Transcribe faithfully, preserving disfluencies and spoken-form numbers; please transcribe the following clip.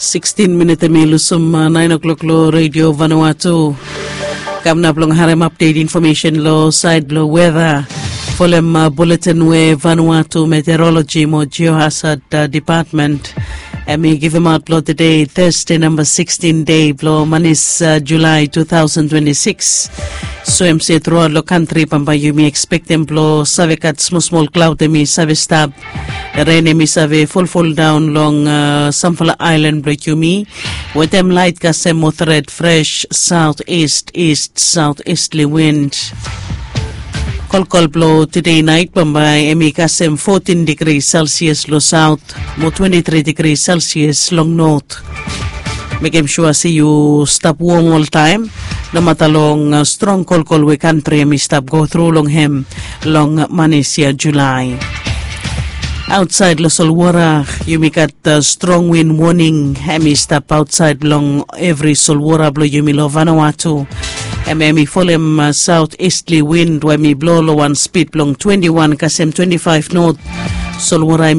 Sikstin minit em i lusum nain o'klok long redio Vanuatu. Kam nap long harim apdet infomesen long sait blong weda. Folem buletin we Vanuatu Meteorologi mo Geohazard Department em i givimaot blong tede Thursday namba sikstin dei blong manis Julai tu tausen twenti sikis. So em se truaot long kantri bambae yumi ekspektem blong save gat smosmol klaut em i save stap. Ren em i save folfoldaon long samfala aelan blong yumi wetem lait kasem mo tret fres saot ist ist saot istli wind. Kolkol blong tede nait bambae em i kasem fotin digri selsias long saot mo twenti tri digri selsias long not. Mekem sua se yu stap wom oltaem nomata long strong kolkol we kantri em i stap go tru long hem long manis ya Julai. Aotsaed long solwara yumi gat strong win woning em i stap aotsaed long evri solwara blong yumi long Vanuatu. Em em i folem saot istli win we em i blo long wan spid blong twenti wan kasem twenti faef not. Solwara em i